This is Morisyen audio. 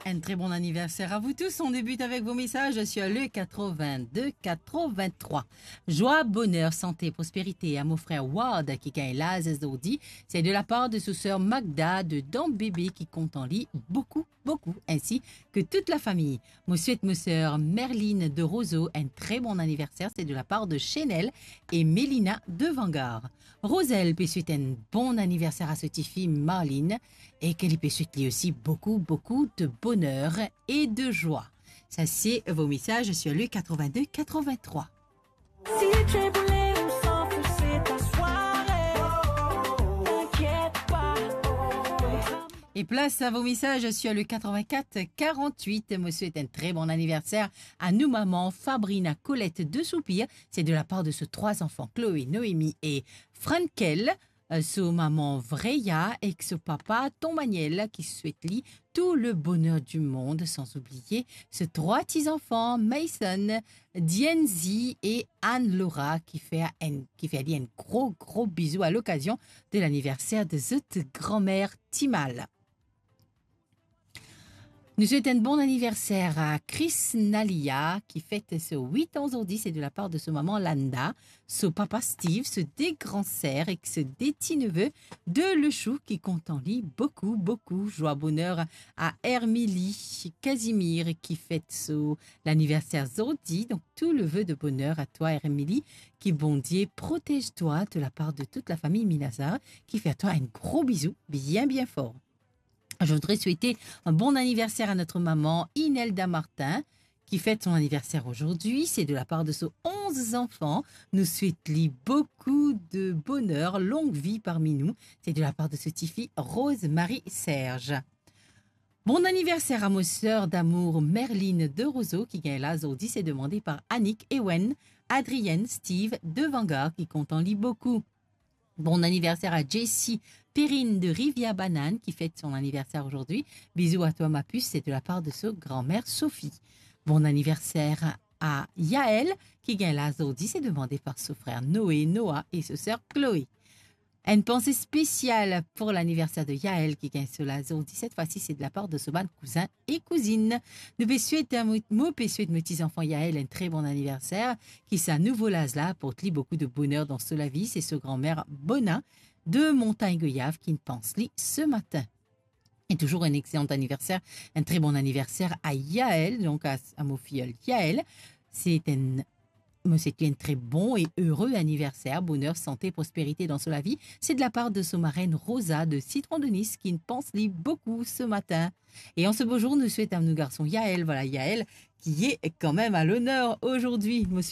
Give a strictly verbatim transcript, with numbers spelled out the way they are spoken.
Un très bon anniversaire à vous tous. On débute avec vos messages sur le quatre-vingt-deux quatre-vingt-trois. Joie, bonheur, santé, prospérité à mon frère Ward qui gagne laz zordi. C'est de la part de sa sœur Magda de Dambébé qui compte en lui beaucoup, beaucoup, ainsi que toute la famille. Mo swet mo sœur Merline de Roseau un très bon anniversaire. C'est de la part de Chenel et Melina de Vanguard. Rosel pe swet un bon anniversaire à sa tifi Marline et que li pe swet li aussi beaucoup, beaucoup de bonheur et de joie. Ça, c'est vos messages sur le quatre-vingt-deux quatre-vingt-trois. Si tu es boulé, on s'en fout, c'est ta soirée. T'inquiète pas. Et place à vos messages sur le quatre-vingt-quatre quarante-huit. Mo swet un très bon anniversaire à nou maman Fabrina Colette de Soupir. C'est de la part de ses trois enfants, Chloé, Noémie et Frankel. Euh, so maman Vreya ek so papa Ton Maniel ki swet li tout le bonheur du monde, sans oublier ses trois petits-enfants, Mason, Dienzi et Anne-Laura, qui fait un, qui fait un gros, gros bisou à l'occasion de l'anniversaire de zot grand-mère Timal. Nou swet un bon anniversaire à Chris Nalia, qui fête ses huit ans zordi. C'est de la part de sa maman Landa, so papa Steve, ses deux grands sœurs et ses deux petits-neveux de Lechou qui compte en lui beaucoup, beaucoup. Joie, bonheur à Hermilie Casimir qui fête son anniversaire zordi. Donc, tout le vœu de bonheur à toi, Hermilie. Que Bondieu protège toi de la part de toute la famille Minazar, qui fait à toi un gros bisou bien, bien fort. Je voudrais souhaiter un bon anniversaire à notre maman Inelda Martin, qui fête son anniversaire aujourd'hui. C'est de la part de ses onze enfants. Nou swet li beaucoup de bonheur, longue vie parmi nous. C'est de la part de sa tifi Rose-Marie Serge. Bon anniversaire à ma sœur d'amour Merline de Roseau, qui gagne laz zordi. C'est demandé par Annick, Ewen, Adrienne, Steve de Vanguard, qui compte en lui beaucoup. Bon anniversaire à Jessie Perrine de Rivière Banane qui fête son anniversaire aujourd'hui. Bisous à toi, ma puce, c'est de la part de sa grand-mère Sophie. Bon anniversaire à Yaël qui gagne laz zordi, c'est demandé par son frère Noé, Noah et sa sœur Chloé. Une pensée spéciale pour l'anniversaire de Yaël qui gagne laz zordi. Cette fois-ci, c'est de la part de son bann cousin et cousine. Nou pe swet, mo, mo pe swet mo ti zanfan Yaël un très bon anniversaire, ki sa nouvo laz la aport li beaucoup de bonheur dans sa lavi. C'est sa grand-mère Bona de Montagne Goyave qui pans li ce matin. Et toujours un excellent anniversaire, un très bon anniversaire à Yaël, donc à, à mo filleul Yaël. C'est un Mo swet li un très bon et heureux anniversaire, bonheur, santé, prospérité dans sa lavi. C'est de la part de sa marraine Rosa de Citron de Nice qui pans li beaucoup ce matin. Et en ce beau jour, nou swet à nou garson Yaël, voilà Yaël qui est quand même à l'honneur aujourd'hui. Mo